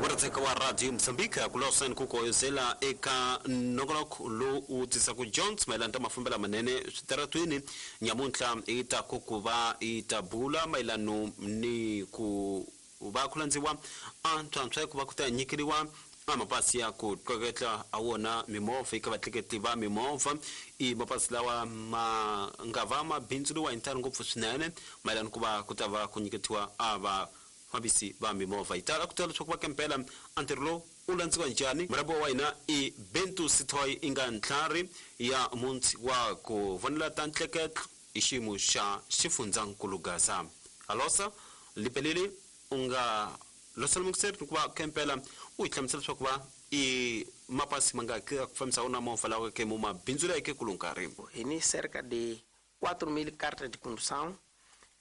Murhatseka wa Radio Mozambique ku lawusani ku koyozela eka nongonoko lowu wu tisaka Jones mayelana ta mafambelo lamanene switaratwini nyamuntlha i ta ku ku va i ta bula mayelano ni ku va ku landziwa a ntswantswa ku va ku ta nyikeriwa a mapasi ya ku tleketla a wona mimovha eka vatleketli va mimovha. I mapasi lawa ma nga va ma bindzuriwa hi ntalo ngopfu swinene mayelana ku va ku ta va ku nyiketiwa a vafambisi va mimovha. Hi tala ku tiva leswaku va kempela a ntirho lowu u landziwa njhani. Murhambiwa wa hina i Bentu Sithoy i nga ntlhari ya muntshi wa ku vonela ta ntleketlo hi xiyimo xa xifundzankulu Gaza. Alosa Lipelele u nga losela mukiseri ni ku va kempela u hi hlamusela leswaku va i mapasi ma nga ki ku fambisa wona movha lawa ke mu mabindzuleke ku nkarhi. Hi ni cerca de 4.000 cartas de condução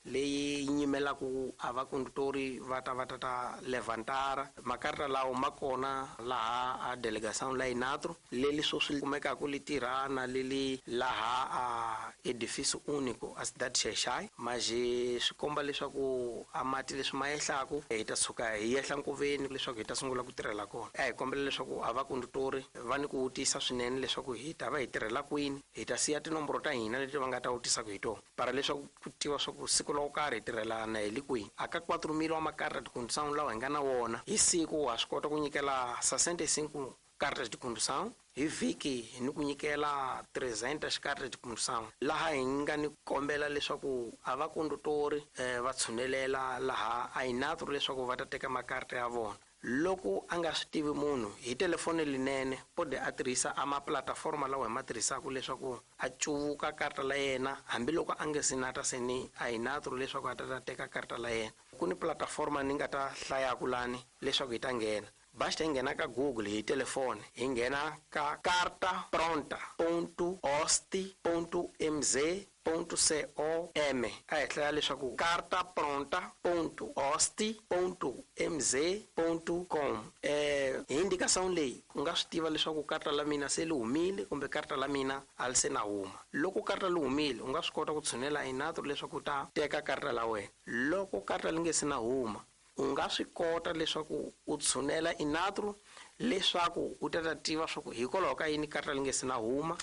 leyi nyimelaka a vakondutori va ta va ta ta levantar makarta lawo ma kona laha a delegação la Inatro leli sweswi kumekaka li tirha na leli laha a edifício único a cidade Xai-Xai, mas swi komba leswaku a mati leswi ma yehlaku hi ta tshuka hi yehla nkoveni leswaku hi ta sungula ku tirhela kona. A hi kombela leswaku a vakondutori va ni ku vutisa swinene leswaku hi ta va hi tirhela kwini, hi ta siya tinomboro ta hina leti va nga ta vutisaka hi tona para leswaku ku tiva swa ku siku lo karhi hi tirhelana hi le kwihi. A ka 4.000 wa makarta de condução lawa hi nga na wona hi siku ha swi kota ku nyikela 65 cartas de condução, hi vhiki hi ni ku nyikela 300 cartas de condução, laha hi nga ni kombela leswaku a va kondutori va tshunelela laha a Inatro leswaku va ta teka makarta ya vona. Loko a nga swi tivi munhu hi telefoni linene pode a tirhisa a maplataforma lawa hi ma tirhisaka leswaku a cuvuka karta la yena hambiloko a nge se nata se ni a Inatro leswaku a ta ta teka karta la yena. Ku ni plataforma ni nga ta hlayaku lani leswaku hi ta nghena. Basta hi nghena ka Google hi telefoni, hi nghena ka carta pronta ponto ost ponto mz ponto com. A hi hlaya leswaku carta pronta ponto ost ponto mz ponto com. Hi indicação leyi u nga swi tiva leswaku karta la mina se li humile kumbe karta la mina a li se na huma. Loko karta li humile u nga swi kota ku tshunela Inatro leswaku u ta teka karta la wena. Loko karta li nge se na huma u nga swi kota leswaku u tshunela Inatro leswaku u ta ta tiva swa ku hikwalaho ka yini karta li nge se na huma.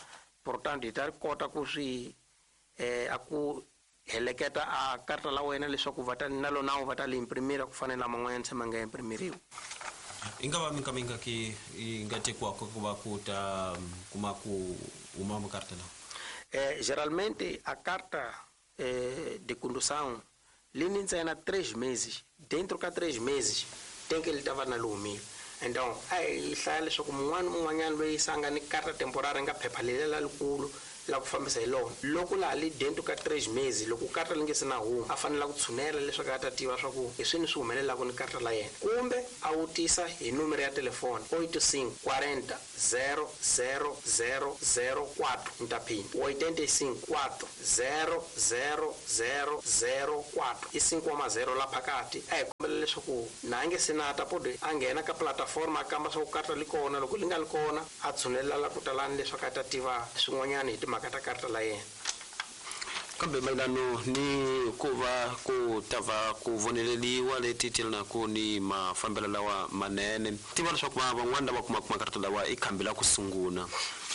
Portanto hi ta kota ku swi a ku heleketa a karta la wena leswaku va ta na lona va ta li imprimira ku fana na man'wanyana se ma nga imprimiriwa. I nga va minkamingaki yi nga tekiwaka ku va ku ta kuma ku huma makarta lawa? Geralmente a carta de condução li ni ntsena 3 meses. Dentro ka 3 meses tem que ele tava na lumile. Então a hi hlaya leswaku mun'wana un'wanyana loyi se a nga ni karta temporária nga phepha leliya lalikulu la ku fambisa hi lona, loko laha li dentro ka 3 meses loko karta li nge se na huma a fanela ku tshunela leswaku a ta tiva swa ku hi swini swi humelelaka ni karta la yena, kumbe a vutisa hi numero ya telefoni 85 40 0 0 0 0 4 ni ta phinda 85 4 0 0 0 0 4 i 5 wa mazero la phakati. A hi kombela leswaku na a nge se na ta pode a nghena ka plataforma a kamba swa ku karta li kona, loko li nga li kona a tshunelela la ku talani leswaku a ta tiva swin'wanyana hi timhaka ta karta la yena. Kambe mayelano ni ku va ku ta va ku voneleliwa leti tyelanaka ni mafambelo lawa manene, tiva leswaku va van'wana lava kumaka makarata lawa i khambi la ku sungula.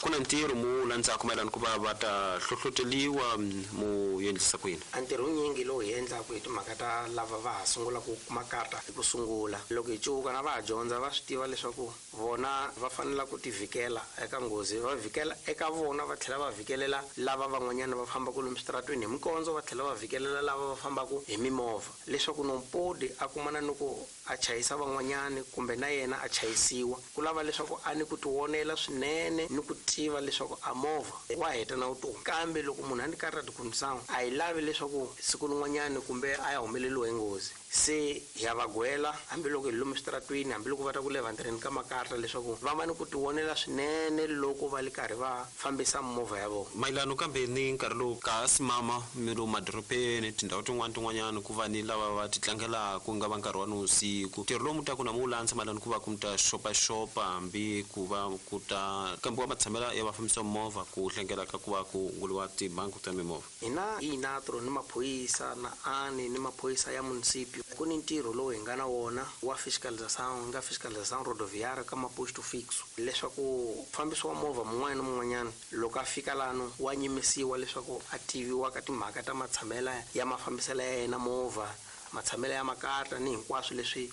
Ku na ntirho mu landzaka mayelano ku va va ta hlohloteliwa mu endlisa ku yini? A ntirho wunyingi lowu hi endlaka hi timhaka ta lava va ha sungulaka ku kuma karta hi ku sungula. Loko hi cuvuka na va ha dyondza va swi tiva leswaku vona va fanela ku tivhikela eka nghozi, va vhikela eka vona va tlhela va vhikelela lava van'wanyana va fambaka lomu switaratweni hi mikondzo, va tlhela va vhikelela lava va fambaka hi mimovha, leswaku nompodi a kumana ni ku a chayisa van'wanyani kumbe na yena a chayisiwa. Ku lava leswaku a ni ku tivonela swinene ni ku tiva leswaku a movha wa heta na vutomi. Kambe loko munhu a ni karhi a tikhundisana a hi lavi leswaku siku rin'wanyani kumbe a ya humeleriwa hi nghozi, se hi ya va gwela hambiloko hi lomu switaratweni, hambiloko va ta ku levantirheni ka makarta, leswaku va va ni ku tivonela swinene loko va li karhi va fambisa mimovha ya vona. Mayelano kambe ni nkarhi lowu ka simama mi lomu madorobeni tindhawu tin'wana tin'wanyana ku va ni lava va ti tlangelaka ku nga va nkarhi wa nivusiku, ntirho lowu mu taku na mu wu landza mayelano ku va ku mi ta xopaxopa hambi ku va ku ta kambiwa matshamelo ya vafambisi va mimovha ku hlengela ka ku va ku hunguliwa timhangu ta mimovha? Hina hi Inatro ni maphorisa na ani ni maphorisa ya municipio. Ku ni ntirho lowu hi nga na wona wa fiscalização, nga fiscalização rodoviária ka maposto fixo, leswaku mufambisi wa movha mun'wana na mun'wanyana loko a fika lano wa nyimisiwa leswaku a tiviwa ka timhaka ta matshamela ya mafambiselo ya yena movha, matshamelo ya makarta ni hinkwaswo leswi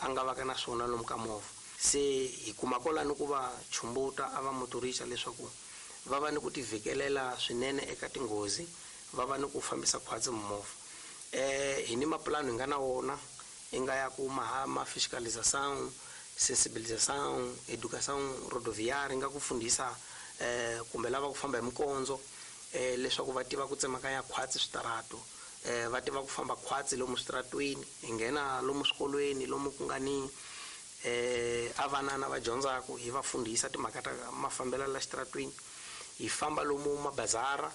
a nga va ka na swona lomu ka movha. Se hi kuma kwalano ku va chumbuta a va motorisa leswaku va va ni ku tivhikelela swinene eka tinghozi, va va ni ku fambisa khwatsi mimovha. Hi ni mapulani hi nga na wona i nga ya ku ma fiscalização, sensibilização, educação rodoviária, nga ku fundisa kumbe lava ku famba hi mikondzo leswaku va tiva ku tsemakanya khwatsi switarato, va tiva ku famba khwatsi lomu switaratweni, hi nghena lomu swikolweni lomu ku nga ni a vanana va dyondzaka, hi va fundisa timhaka ta mafambelo la xitaratweni. Hi famba lomu mabazara,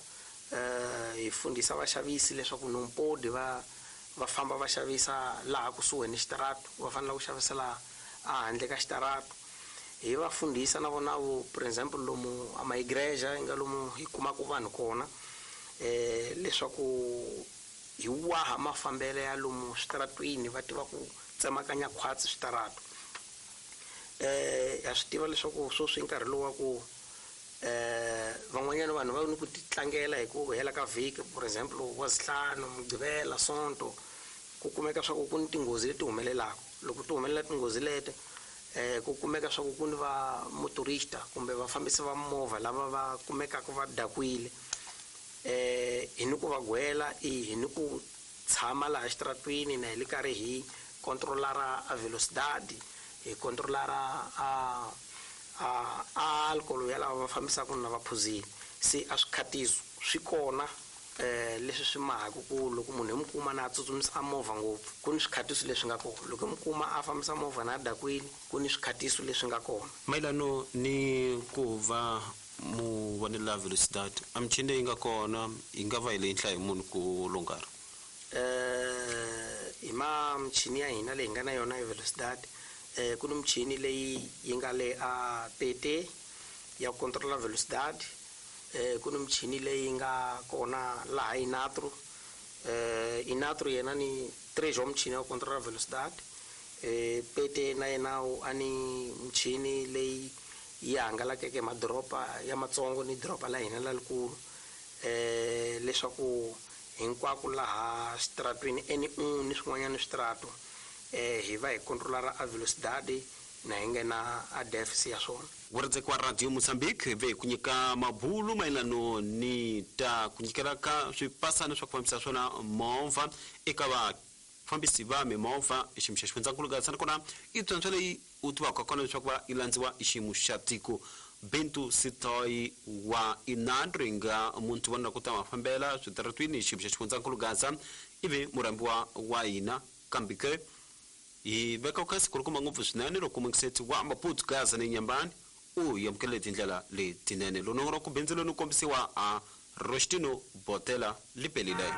hi fundisa vaxavisi leswaku nompodi va famba va xavisa laha kusuhi ni xitarato, va fanele ku xavisela ehandle ka xitarato. Hi va fundisa na vona vo, for example lomu a maigreja yi nga lomu hi kumaka vanhu kona, leswaku hi waha mafambelo ya lomu switaratweni, va tiva ku tsemakanya khwatsi switarato. Ha swi tiva leswaku sweswi nkarhi lowu wa ku van'wanyana vanhu va ni ku titlangela hi ku hela ka vhiki, for example wa zihlanu, mugqivela, sonto, ku kumeka swa ku ku ni tinghozi leti humelelaka. Loko ti humelela tinghozi leti, ku kumeka swa ku ku ni va motorista kumbe vafambisi va movha lava va kumekaka va dakwile, hi ni ku va gwela, hi ni ku tshama laha xitaratweni na hi le karhi hi controlara a velocidade, hi controlara a alcohol ya lava va fambisaka na va phuzile. Se a swikhatiso swi kona leswi swi mahaka ku loko munhu hi mu kuma na a tsutsumisa movha ngopfu, ku ni swikhatiso leswi nga kona. Loko hi mu kuma a fambisa movha na a dakwile, ku ni swikhatiso leswi nga kona. Mayelano ni ku va mu vonela velocidade, a michini leyi nga kona yi nga va hi leyi nhlayo munhu ku longara? Hi ma michini ya hina leyi nga na yona ya velocidade, ku ni michini leyi yi nga le a PT ya ku controla velocidade, ku ni michini leyi nga kona laha Inatro, Inatro yena ni 3 wa michini ya ku controla velocidade, PT na yena a ni michini leyi yi hangalakeke madoroba ya matsongo ni doroba la hina lalikulu, leswaku hinkwako laha xitaratweni N1 ni swin'wanyana switarato, hi va hi controlara a velocidade na hi nghena a deficit ya swona. Wurindzeko wa Radio Mozambique ve ku nyika mabulu mayelano ni ta ku nyikela ka swipasana swa ku fambisa swona movha eka vafambisi va mimovha xiyimo xa xifundzankulu Gaza, nakona i tswantswa leyi u tivaka kona leswaku va yi landziwa i xiyimo xa tiko. Bintu Sitoyi wa Inandro yi nga muntu vona ku ta mafambela switaratwini xiyimo xa xifundzankulu Gaza, ivi murhambiwa wa hina kambe ke hi veka ku kasi kulukumba ngopfu swinene loko mungiseti wa Maputo Gaza ni Nyambani u amukele tindlela letinene. Lonongoloko bindzu loni kombisiwa a Rostino Botela Lipelile.